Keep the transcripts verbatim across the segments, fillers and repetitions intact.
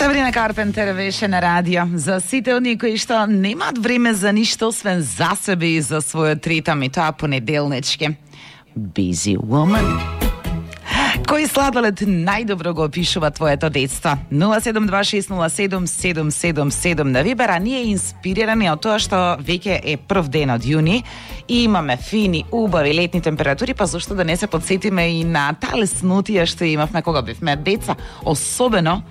Сабрина Карпентер беше на радио. За сите оние кои што немаат време за ништо освен за себе и за својот ритам, и тоа понеделнички. Busy woman. Кој сладолед најдобро го опишува твоето детство? нула седум два шест нула седум седум седум седум на Вибера. Ние инспирирани од тоа што веќе е прв ден од јуни и имаме фини, убави летни температури, па зашто да не се подсетиме и на таа леснотија што имавме кога бевме деца, особено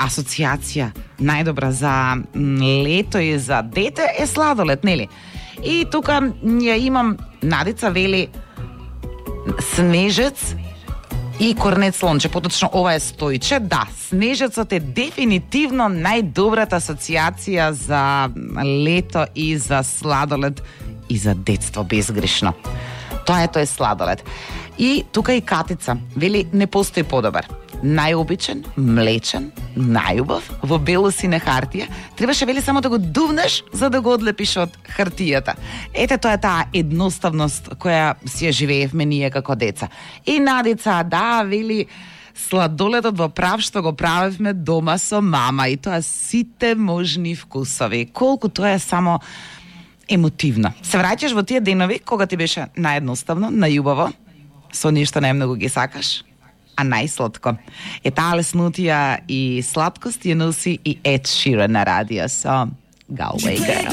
асоциација најдобра за лето и за дете е сладолед, нели? И тука ја имам Надица вели снежец и корнет слонче, поточно ова е Стојче. Да, снежецот е дефинитивно најдобрата асоциација за лето и за сладолед и за детство безгрешно. Тоа ето е сладолед. И тука и Катица вели не постои подобар. Најобичен, млечен, најубав, во бело сине хартија. Требаше вели само да го дувнеш за да го одлепиш од хартијата. Ете, тоа е таа едноставност која си ја живеевме ние како деца. И Надица, да, вели сладоледот во прав што го правевме дома со мама, и тоа сите можни вкусови. Колку тоа е само емотивно. Се враќаш во тие денови кога ти беше наједноставно, најубаво, со нешто најмногу ги сакаш, а најсладко. Е таа леснотија и сладкост ја носи и Ed Sheeran на радио со Galway Girl.